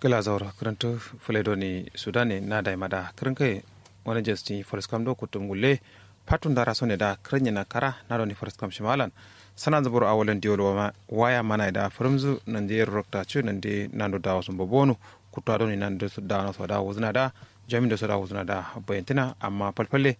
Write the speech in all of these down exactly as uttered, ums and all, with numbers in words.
Gla zauro kǝrǝntǝ fǝle doni sudane na daima da kǝrǝnkai. Wani jasti faraskam do kuttum gulle. Fatun dara sone da kǝrǝnye na kara na doni faraskam shimalan. Sanan zubur awalan diwol waya mana da fǝrǝmzǝ nande rokta ci nande nando dawo sumbo bonu. Kuttu adoni nando dawano so da wuzǝna da. Jamin do so da wuzǝna da. Bayantina amma falfalle.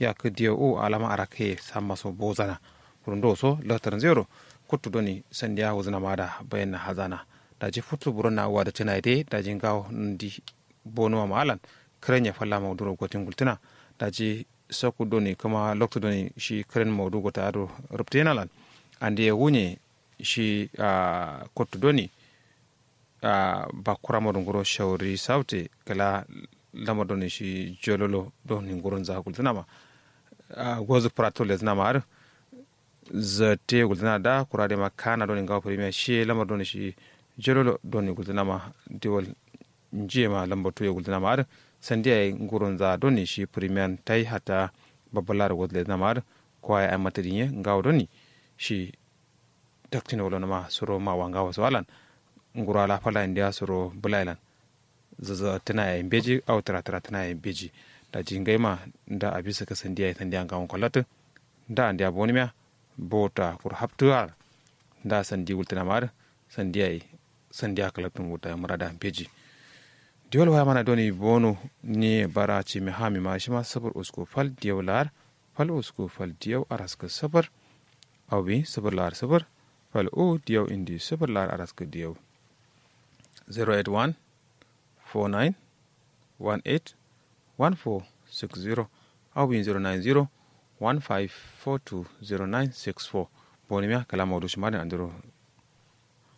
Yakǝ diyo u alama arake samma so bozana. Kurundo so latar zero. Kuttu doni sandiya wuzǝna ma da bayan na hazana. Daji futu buron na wada tena ide daji ngawo ndi. Bonuwa ma alan. Kǝrenya falla mauduro gotin gultǝna. Daji sokku doni kǝma loktu doni shi kǝren maudu gota ado ruptena lan. Ande wunye shi kottu doni. Bakura maudu nguro shauri saute kala lamar doni shi jololo doni nguro nza gultǝna ma. Gozu prato lezǝna ma adǝ. Zatte gultǝna da kura de ma kana doni ngawo premier shi lamar doni shi jololo doni gultǝna ma. Diwol njiye ma lamba tuye gultǝna ma adǝ. Sandiya ye nguro nza doni shi premier tai hatta babbalar gultǝna ma adǝ. Kowa ye ayi matadin ye ngawo doni shi. Taktin wolo nama suro ma wa ngawo so alan. Nguro ala fala indiya suro bula ilan. Zaza tǝna yayi mbeji au tǝra tǝra tǝna yayi mbeji. Daji ngai ma nda abisa ka sandiya yayi sandiya ngawon kwallatǝ. Nda andiya boni miya bota kuru haptǝ ar. Nda sandi wultǝna ma adǝ. Sandiya yayi sandiya kalaktǝ nguta murada mbeji. Diwol waya mana doni bono. Ni bara cimi hami ma shima sufur usku fal diyau lar. Fal usku fal diyau araskǝ sufur. Au bi sufur lar sufur. Fal u diyau indi sufur lar araskǝ diyau. Zero eight one four nine one eight one four six zero. Au bi zero nine zero one five four two zero nine six four. Boni miya kala maudu shima din andiro.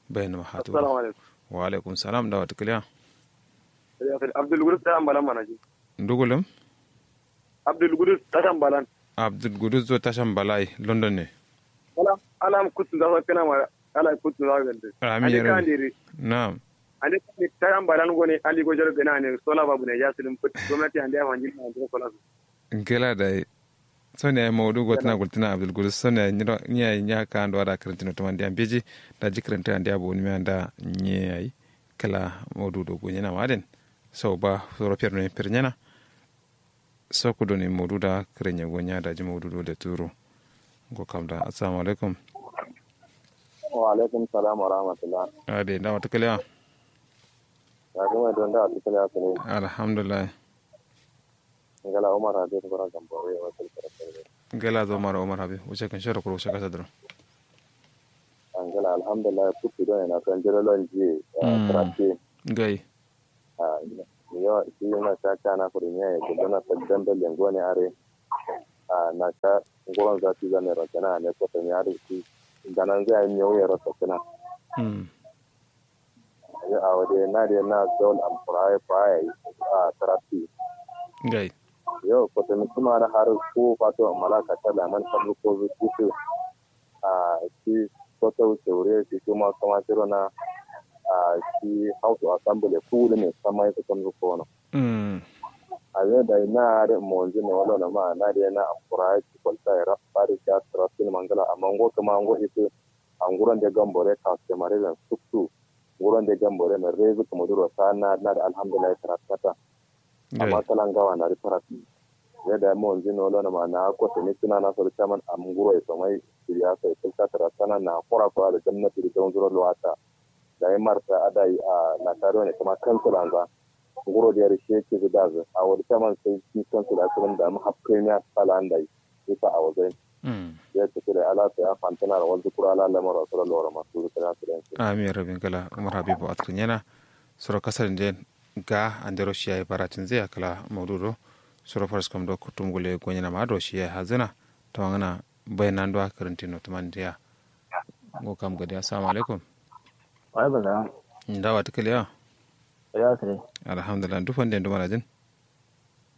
Bayan ma hatu. Assalamu alaikum. Wa alaikum salam da wata kiliya. Abdul gudus ta ambala mana ji. Ndugulum. Abdul gudus ta shambala. Abdul gudus zo ta shambala london ne. Ala ala am kutun za so kina ma. Ala kutun za gande. Ami yero. Na'am. Ande ta shambala ngone ali gojoro gana ne sola babu ne ya silim put gomnati ande afanjin na ande sola. Ngela dai. Soni yayi maudu gotǝna gultǝna abdul gudus soni yayi nyi yayi nya ka ando ada kǝrǝntǝ no tǝmandi ambeji. Daji kǝrǝntǝ andi abo nǝmi anda nyi yayi. Kǝla maudu do gonyena ma aden. Sau ba soro per nǝmi per nyena. Sau kudo nǝmi maudu da kǝrǝnye gonya daji maudu do leturo. Ngo kam da assalamu alaikum. Wa alaikum salam wa rahmatullah. Ade nda wata kǝlewa. Alhamdulillah. Ngala umar habib bura gambore wakil kare kare. Ngala zo umar umar habib wuce kan shero kuro wuce kasa duro. Ngala alhamdulillah kuttu don ina kan jira lon ji. Trafi. Ngai. Yo shi na sha kana kuri ne ya gudu na saddan da lengo ne are. Na sha nguron zafi zane rokena ne ko tani are shi. Ganan zai yi miyo ya rokena. Yo awo de na de na zol am kuraye kuraye. A tarafi. Ngai. Yo kotomi kuma na har ko fato malaka ta laman sablu ko zu kisu. A shi koto shaure shi kuma kuma shiro na. A shi house assembly kulu ne sama ita kan zu kono. A yo da na har monzi ne wala na ma na de na am kuraye shi kwalta ya rap bari sha tarafi mangala amma ngo kuma ngo isu. A nguron de gambore kaske mare ben suktu. Nguron de gambore na rezu kuma duro sa na na da alhamdulillah tarafi kata. Amma kala ngawa na ri farat. Yadda ya mawanzi no lona ma na ko tuni tuna na sori chairman am nguro ya somai siriya sai kulka tara sana na kora kora da gwamnati da don zuro luwata. Da ya marta adai a na taro ne kuma kansul anza. Nguro da ya rishe ke zu dazu a wadi chairman sai shi kansul a tsirin da mu hapkai ne a tsala an da yi. Isa a wazai. Ya tafi da ala sai a fantana da wanzu kura ala lamar wasu da lora masu zuka na su da yansu. Amin rabin kala umar habibu a tsirin yana. Soro kasar den ga andero shi yayi baratin zai akala maudu do. Soro faras kam do kutum gule gonyana ma do shi yayi hazina. To ngana bayanan do akarantino tumandiya. Ngo kam gadi assalamu alaikum. Wa alaikum salam. Ndawa tikaliya. Ya sire. Alhamdulillah dufan den dumana jin.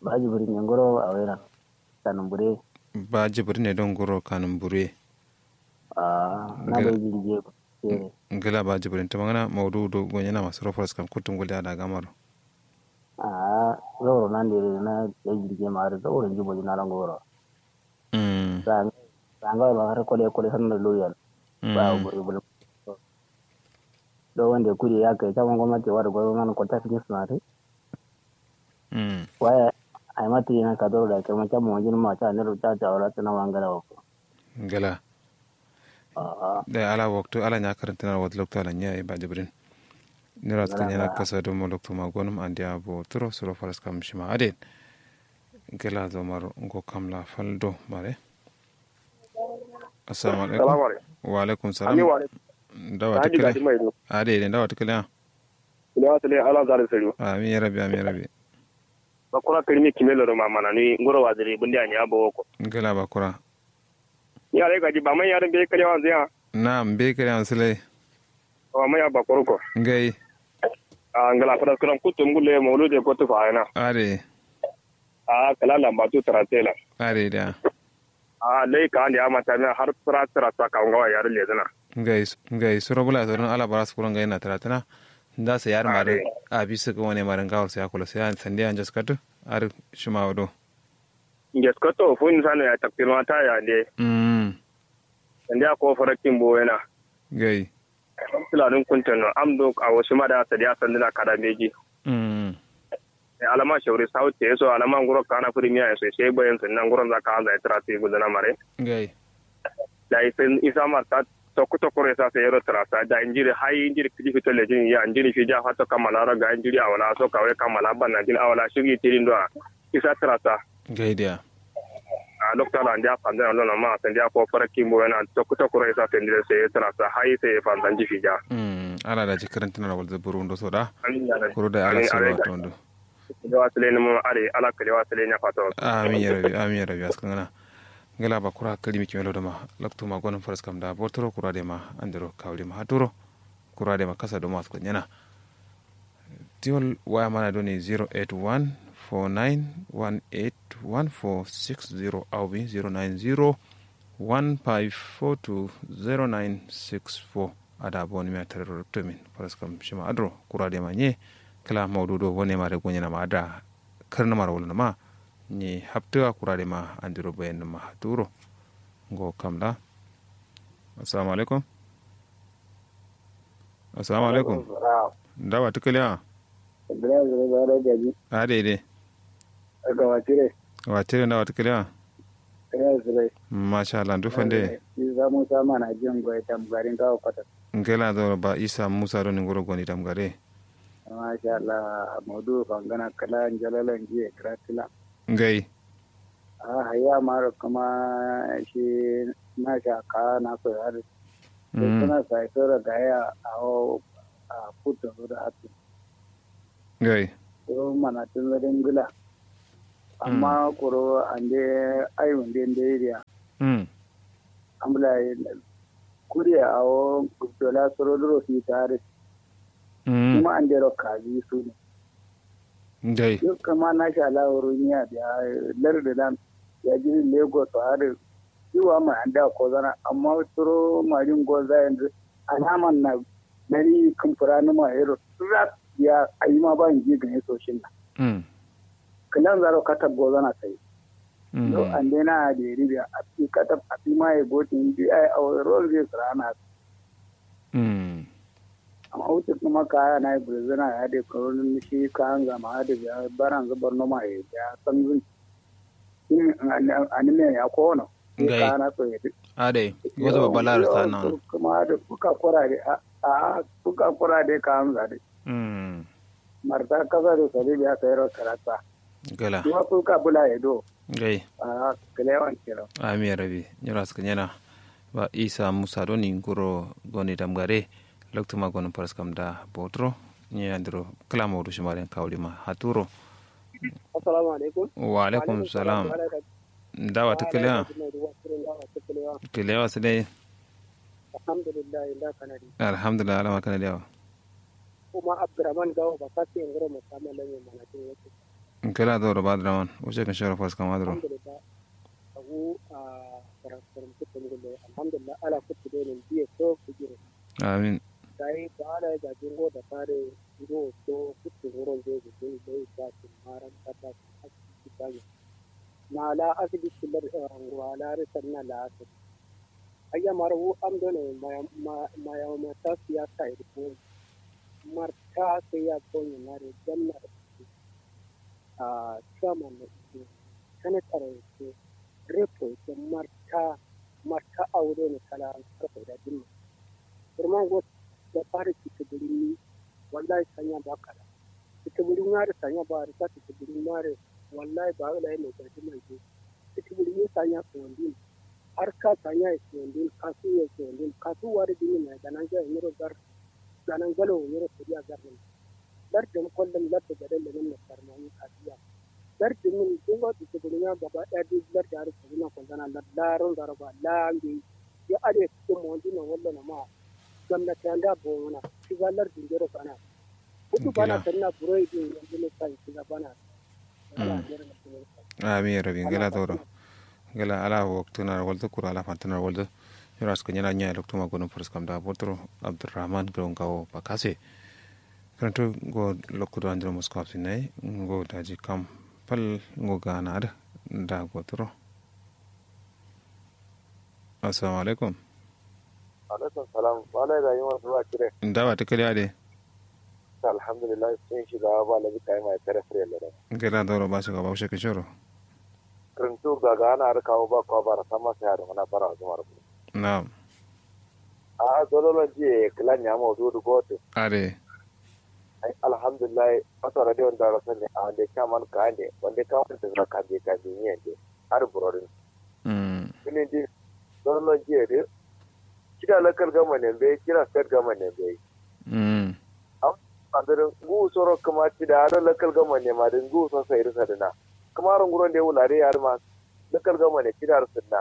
Ba jibrin ne ngoro a waira. Kanun bure. Ba jibrin ne don ngoro kanun bure. Ah na bai jirge. Ngila ba jibrin ta magana maudu do gonyana masu rofars kam kutum gulya da gamaro. Ah zauro nan da na bai jirge ma da zauro jibo jina lan goro. Mm. Sanga ma har kole kole san da loyan. Ba bure bure. Do wande kudi ya kai caman gomnati wadu gozo man kota fijin sunari. Waya ai ma tiri na kadoro da kai ma caman wajin ma ca nero ca ca wala tana wangara wako. Ngala. Dai ala waktu ala nya karantina wad loktu ala nya ba jibrin. Nira skan yana kasa do mo loktu ma gonum andiya bo turo suro faras kam shima aden. Ngala zomar ngo kamla faldo mare. Assalamu alaikum. Salamu alaikum. Wa alaikum salam. Ami wa alaikum. Dawa ta kale. Ade ade dawa ta kale. Ina wa sale ala zare sari. Amin ya rabbi amin ya rabbi. Bakura kirmi kimelo do mamana ni ngoro waziri bundi ani abo ko. Ngala bakura. Ni alai gaji ba mai yarin be kare wanzu ya. Na be kare wanzu lai. Wa mai ya bakura ko. Ngai. A ngala fara kuran kutum gulle maulude ko tufa ina. Ade. A kala lamba tu taratela. Ade da. A lai ka ande ama tamia har sura sura sa ka ngawa yar le zana. Ngai ngai suro bula suro ala bara suro ngai na taratana. Nda sa yar mare. A bisu ko wane mare ngawar sa ya kula sa ya sande an jaskatu. Ar shima wado. Ngeskoto fun sano ya taktirma ta ya nde. Mm. Sande a ko farakin bo yana. Ngai. Sula dun kuntan no am do a wasu ma da sadiya sanduna kada meji. Mm. Alama shauri sauti so alama nguro kana furi miya so sai bayan sun nan nguron zaka an zai tara sai gudana mare. Ngai. Da isin isa marta tokko tokko re sa sai yero tara sa da injiri hai injiri kidi fito le jin ya injiri fi ja fato kamala ro ga injiri awala so kawai kamala banna jin awala shigi tirin do isa tara sa. Ngai dia. A lokta la ndia fanda lo na ma sandia ko fara kimbo yana tokko tokko re sa sai ndire sai tara sa hai sai fanda ji fi ja. Mm ala da jikirin tana wal zaburu ndo so da. Amin ya rabbi. Kuro da ala sai wa tondo. Kelewa sile ni mo are ala kelewa sile nya fato. Amin ya rabbi amin ya rabbi askan ngana. Ngala ba kura kalimi kimelo dama laktu ma gonon faras kam da botoro kura de ma andero kawli ma haturo. Kura de ma kasa dama askan nyana. Tiwol waya mana doni zero eight one four nine one eight one four six zero awbi zero nine zero one five four two zero nine six four. Ada boni mi atarero ruptomin faras kam shima adro kura de ma nye. Kala maudu do bone ma de gonyana ma ada. Kǝrnǝmaro wulnǝma nyi haptǝ akurarema andiro bayanǝma turo. Ngo kamla. Assalamu alaikum. Assalamu alaikum. Ndawa tǝkǝlewa? Adai dai. Watire ndawa tǝkǝlewa? Masha allah ndu fande? Isa musa mana jin goye tamgari ngawo kwatas. Ngela doro ba isa musa doni nguro goni tamgare. Masha allah. Maudu fangana kala njalalan jiye kratila. Ngai. A hayya maro kuma shi nasha ka naso yari. Suna sai soro gaya awo. A kuto da hatu. Ngai. Kuro mana tun zadin gula. Amma kuro ande ayu nde nde iriya. Amla kuriya awo dola soro duro fita ari. Kuma andero kazi sune. Dai. Yo kama nasha la oromiya biya lardu lan. Ya jiri lagos ari. Iwa ma anda kozana amma soro marin goza yanzu. Alaman na nari kǝmfǝranǝma yero rak. Ya ayima ba nji gǝne soshin na. Kǝlanzaro katab gozana sai. Yo ande na aderi biya afi katab afi ma ye gotin bi ai awo rol zai sǝrana. Amma wutu kuma kaya na ye gulzana ya de koronin shi kayan zama ya de biya baran zubar noma ye biya sanzun. Anime ya kono. Ngai. Kana so yedi. Adai gozo babba lara sana. Kuma da kuka kura de a kuka kura de ka amza de. Marta kasa de sari biya sayro karata. Gala. Kuma kuka bula yedo. Ngai. A kalewan kira. Ami rabi nyura suka nyana. Ba isa musa doni nguro goni damgare. Loktu ma gonon faras kam da botro. Nyi andiro kala maudu shimaren kawli ma haturo. Assalamu alaikum. Wa alaikum salam. Ndawa tǝkǝlewa? Tǝkǝlewa sǝdai. Alhamdulillah. Alhamdulillah alama kana diyawa. Kuma abdurrahman gawo ba kasi nguro musamman lamin manatin wasu. Nkela doro ba abdurrahman wuce kan shoro faras kam adro. Alhamdulillah. Abu a faras kam kutum gulle alhamdulillah ala kutu dai nin biye so kujiro. Amin. Dai ba ala ya gaji ngo da fare ngo so kutu nguro nge gulle dai ba kin maran kata kin hakki kitanya. Na la asibiti lar ngwa la risan na la asibiti. Ayya mara wu am done maya maya mata siyasa ya ko. marta sai ya bonye nare gamna da kuke. A chairman na ike, senator ike, repo ike, marta marta awo done kala karfai da dimma. Kurman go da fara kiti burin ni. Wallahi sanya ba kala kiti burin ya da sanya ba da kiti burin mare. Wallahi ba wala ne ga dimma ke. Kiti burin ni sanya ko wandin, har ka sanya ya ko wandin, kasu ya ko wandin, kasu wari dimma na ganan ga nyiro gar, ganan galo nyiro suriya gar ne. Lardǝm kollǝm lardǝ gaden lenǝm naftarma ye kasiya. Lardǝmin duk lardǝ cǝgǝnǝmiya gaba ɗaya duk lardǝ adǝ cǝgǝnǝmiya kollana lardǝ laron zaraba la mbeyi. Yo adǝ ye kǝkkǝn mowondǝno wallono ma. Gomnati ande a bowongǝna. Shiga lardǝ ndero bana. Kutu bana. Gla. Tǝnna buro ye dǝ ye yandǝ nǝ sai shiga bana. Gla. Mm. Ndero nǝ. Amin ya rabbi. Gla zauro. Gla ala waktǝna walzǝ kuru ala fantǝna walzǝ. Yoro askǝ nyana nya loktu ma gonum faraskam da botoro abdurrahman gawo ngawo bakase. Kǝrǝntǝ ngo lokku do andiro musko absinnayi. Ngo daji kam fal ngo gana adǝ da gotoro. Assalamu alaikum. Alaikum salam. Wala da yima duwa kire. Nda ba tǝ kǝliya de. Alhamdulillah. Sun shiga ba labi kayi mai kare fure lada. Gla zauro ba shiga ba ushe kishoro. Kǝrǝntǝ gagana adǝ kawo ba kwa bara samma sai adǝ ngana bara zuma rǝ. Na'am. A'a zololon jiye kǝla nyama wudu wudu gotu. Are. Ai alhamdulillah. Masara de wanda rasa ne a wande chairman ka ande wande ka wande zira kambe kambe ni ande. Adǝ burodin. Mm. Kǝnin di zololon jiye dǝ. Cida local government ne mbeyi, cida state government ne mbeyi. Mm. Am, andǝrǝ nguwu soro kǝma cida adǝ local government ne ma dǝ nguwu so sai dǝ sadǝna. Kǝmaro nguron de wulade ya dǝ ma local government ne cida dǝ sǝdǝna.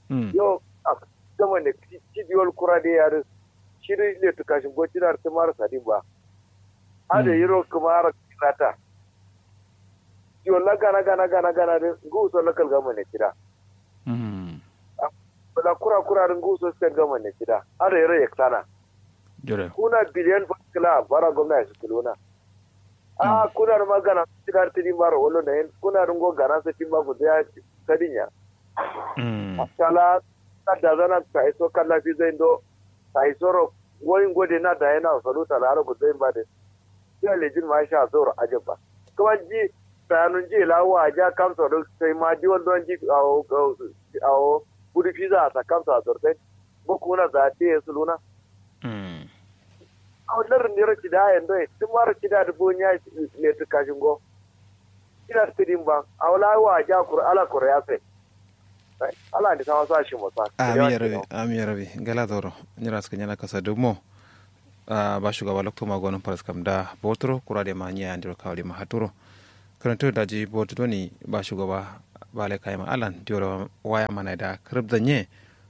Mm. Yo, a, government ne ci, ci diwol kura de ya dǝ. Shi dǝ letu kashin go cida dǝ tǝma dǝ sadin ba. Adǝ. Mm. Yiro kǝma ara kirata. Diwol la gana gana gana gana dǝ nguwu so local government ne cida. Mm. Bula kura kura dǝ nguwu so state government ne cida. Adǝ yero yeksana. Jire. Kuna biliyan fal kǝla bara gomna ye sǝkkǝluna. A, mm, kuna dǝ ma gana cida dǝ tǝdin baro wallo na yen kuna dǝ ngo gana sǝttin ba gulzai ya sadin ya. Mm. Tala na dazana sai so kalla fi zai ndo sai soro. Woi ngo de na daye na salu tala aro gulzai ba de. Jiya lejin ma sha zoro ajabba. Kuma ji sayanun ji la wa ja kamsa do sai ma ji wal don ji awo awo gudu fiza a sa kamsa a zortai. Ngo kuna za te suluna. Mm. Awo lar niro cida yen doi tun maro cida du bonya. Ne tu kashin go cida tidin ba. Awo la wa ja kur ala kur ya sai. Ala ndi sama sa shi mo sa. Amin ya rabi, amin ya rabi. Gala zoro. Nyira suka nyana kasa dumo. Ah, ba shugaba lokto ma gonin faras kam da botoro kura de ma nya andiro kawli ma haturo. Karanto daji botu doni ba shugaba ba lai kaima alan diwolo waya mana da krib zanye.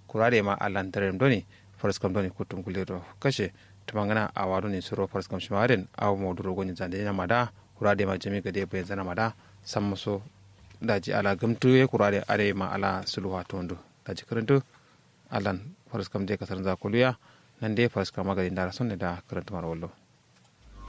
Kura de ma alan darem doni faras kam doni kutum gulero kashe. Tumangana awa doni suro faras kam shima aden awa moduro goni zande na mada. Kura de ma jami gade bayan zana mada. Samma so daji ala gamtu ye kura de ade ma ala suluwa tondo. Daji karanto alan faras kam de kasar zakuluya. Nan de faras kam magadi ndara sonne da karanto mara wallo.